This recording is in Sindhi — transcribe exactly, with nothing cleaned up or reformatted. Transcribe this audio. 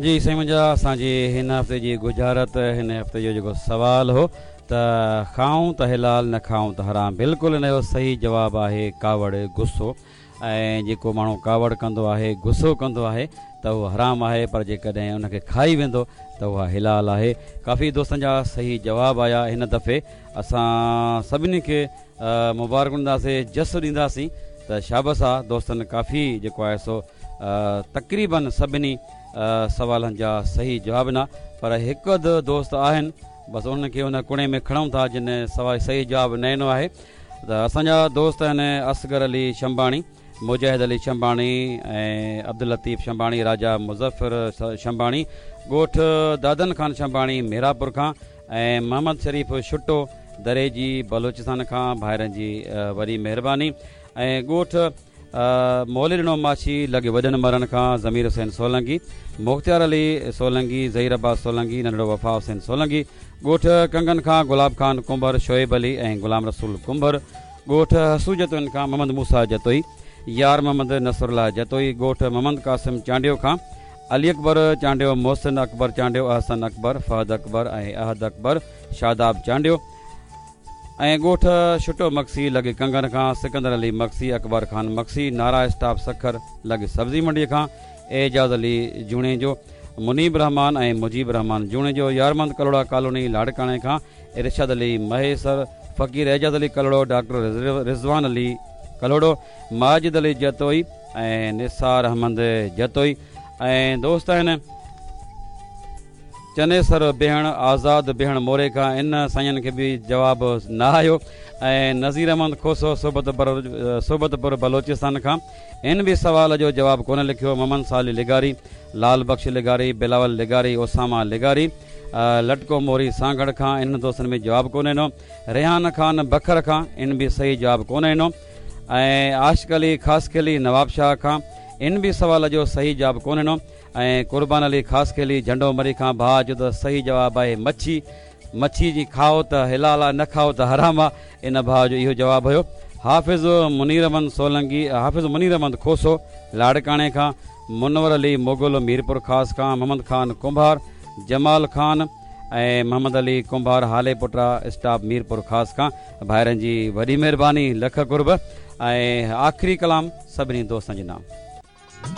جي سائين منهنجا، اسان جي هن هفتي جي ڳجهارت، هن هفتي جو جيڪو سوال هو ته کائون ته حلال، نه کائون ته حرام، بلڪل ان جو صحيح جواب آهي ڪاوڙ، غصو. ۽ جيڪو ماڻهو ڪاوڙ ڪندو آهي، غصو ڪندو آهي ته اهو حرام آهي، پر جيڪڏهن ان کي کائي ويندو ته اها حلال آهي. ڪافي دوستن جا صحيح جواب آيا. هن دفعي اسان سڀني کي مبارڪون ڏينداسين، جس ڏينداسين ته شابس آ دوستن، ڪافي جيڪو آهي سو تقريبن سڀني سوالن جا صحيح جواب ڏنا، پر هڪ اڌ دوست آهن بس انهن کي ان ڪڻي ۾ کڻون ٿا جن سوال صحيح جواب نه ڏنو آهي. ته اسان جا دوست آهن اصغر علي شنباڻي، مجاهد علي شنباڻي ۽ عبداللطيف شنباڻي، راجا مظفر شنباڻي، ڳوٺ دادن خان شنباڻي ميراپور کان، ۽ محمد شريف شٽو دريجي بلوچستان کان، ڀائرن جي وڏي مهرباني. ۽ ڳوٺ موليڏنو ماڇي لڳ وڏن مرن کان ضمير حسين سولنگي، مختيار علي سولنگي، ظهير عباس سولنگي، ننڍڙو وفا حسين سولنگي، ڳوٺ ڪنگن کان گلاب خان ڪنڀر، شعيب علي ۽ غلام رسول ڪنڀر، ڳوٺ حسو جتوئين کان محمد موسيٰ جتوئي، يار محمد نصرالله جتوئي، ڳوٺ محمد قاسم چانڊيو کان علي اڪبر چانڊيو، محسن اڪبر چانڊيو، احسن اڪبر، فهد اڪبر ۽ احد اڪبر، شاداب چانڊيو، ۽ ڳوٺ شٽو مگسي لڳ ڪنگن کان سڪندر علي مگسي، اڪبر خان مگسي، نارا اسٽاپ سکر لڳ سبزي منڊي کان اعجاز علي جوڻيجو، منيب رحمان ۽ مجيب رحمان جوڻيجو، يارمند ڪلهوڙا ڪالوني لاڙڪاڻي کان ارشاد علي مهيسر، فقير اعجاز علي ڪلهوڙو، ڊاڪٽر رضوان علي ڪلهوڙو، ماجد علي جتوئي ۽ نثار احمد جتوئي. ۽ دوست آهن چنيسر بيهڻ، آزاد بيهڻ موري کان، ان سائين کي به جواب نه آيو. ۽ نذير احمد کوسو صحبت پر صحبت پور بلوچستان کان، ان به سوال جو جواب ڪونه لکيو. محمد صالح لغاري، لال بخش لغاري، بلاول لغاري، اسامه لغاري، لٽڪو موري سانگهڙ کان، انهن دوستن به جواب ڪونه ڏنو. ريحان خان بکر کان، ان به صحيح جواب ڪونه ڏنو. ۽ عاشق علي خاصخيلي نوابشاهه کان، ان به سوال جو صحيح جواب ڪونه ڏنو. ۽ قربان علي خاصخيلي جهنڊو مري کان، ڀاء جو ته صحيح جواب آهي مڇي، مڇي جي کائو ته حلال آ، نه کائو ته حرام آ، ان ڀاء جو اهو جواب هيو. حافظ منير احمد سولنگي، حافظ منير احمد کوسو لاڙڪاڻي کان، منور علي مغل ميرپور خاص کان، محمد خان ڪنڀار، جمال خان ۽ محمد علي ڪنڀار هالي پٽا اسٽاپ ميرپور خاص کان، ڀائرن جي وڏي مهرباني، لک قرب. ۽ آخري ڪلام سڀني دوستن جي نام.